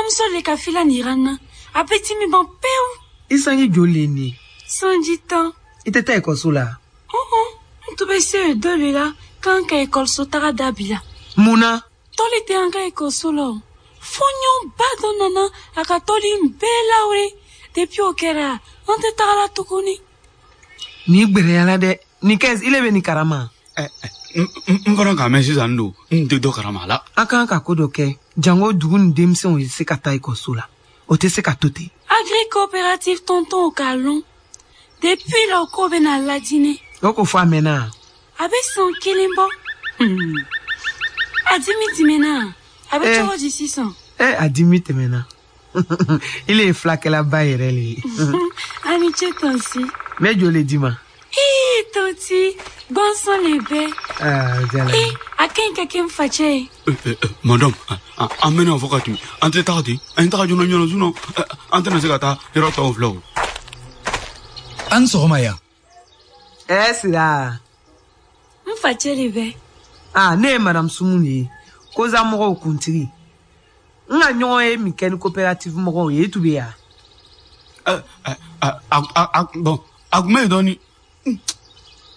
Bamuso le ka filan yira n na. A bɛ dimi ban pewu. I sanji joli le ye nin ye? Sanji 10. I tɛ taa ekɔliso la? Ɔhɔn, n tun bɛ se o dɔ le la k'an ka ekɔliso taga dabila. Mun na? Tɔli tɛ an ka ekɔliso la o. Fɔɲɔba dɔ nana a ka tɔli in bɛɛ lawuli. Depuis o kɛra, an tɛ taga la tuguni. Nin gbɛrɛyala dɛ. Nin kɛ ile bɛ nin karama. N fana k'a mɛn sisan don n tɛ dɔ karama la. An kan ka ko dɔ kɛ jango dugu ni denmisɛnw ye se ka taa ekɔliso la. O tɛ se ka to ten. Agri coopérative tonton k'a lɔn. Depuis la o ko bɛna lajinɛ. O ko fɔ a mɛnna. A bɛ san kelen bɔ. A dimi tɛmɛna. A bɛ cogo di sisan? A dimi tɛmɛna. Ile ye fulakɛlaba yɛrɛ le ye. A ni ce tanti. N bɛ joli d'i ma? Ii tanti, gansan le bɛ. Aa, jala. Ee, a ka ɲi ka kɛ n facɛ ye. Madame, an bɛna fɔ ka tɛmɛ. An tɛ taga ten. An ye taga joona joona sinon an tɛna se ka taa yɔrɔ tɔw filɛ o. An ni sɔgɔma yan. Sira. N facɛ de bɛ. Aa, ne ye madame Sumu de ye. Koza mɔgɔw kuntigi. N ka ɲɔgɔn ye min kɛ ni coopérative mɔgɔw ye, i tun bɛ yan. Bon, a tun bɛ yen dɔɔni.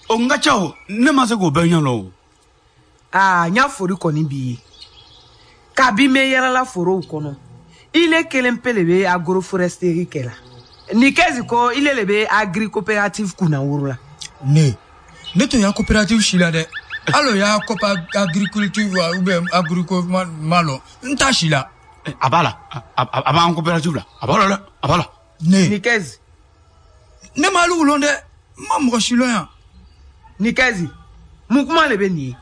O n ka ca o, ne ma se k'o bɛɛ ɲɛ lɔn o. Aa, n y'a fori kɔni b'i ye. Kabi n bɛ yalala forow kɔnɔ, ile kelen pe le bɛ agroforesterie kɛ la. Ni kɛzi ko ile le bɛ agri coopérative kunna woro la. Ne tun y'a coopérative si la dɛ. Hali o y'a coop agriculture ou bien agrico ma lɔn, n t'a si la. A b'a la, a b'an coopérative la, a b'a la dɛ, a b'a la. Ne. Ni kɛzi. Ne ma hali lɔn dɛ, n ma mɔgɔ si lɔn yan. Ni kɛzi, mun kuma le bɛ nin ye?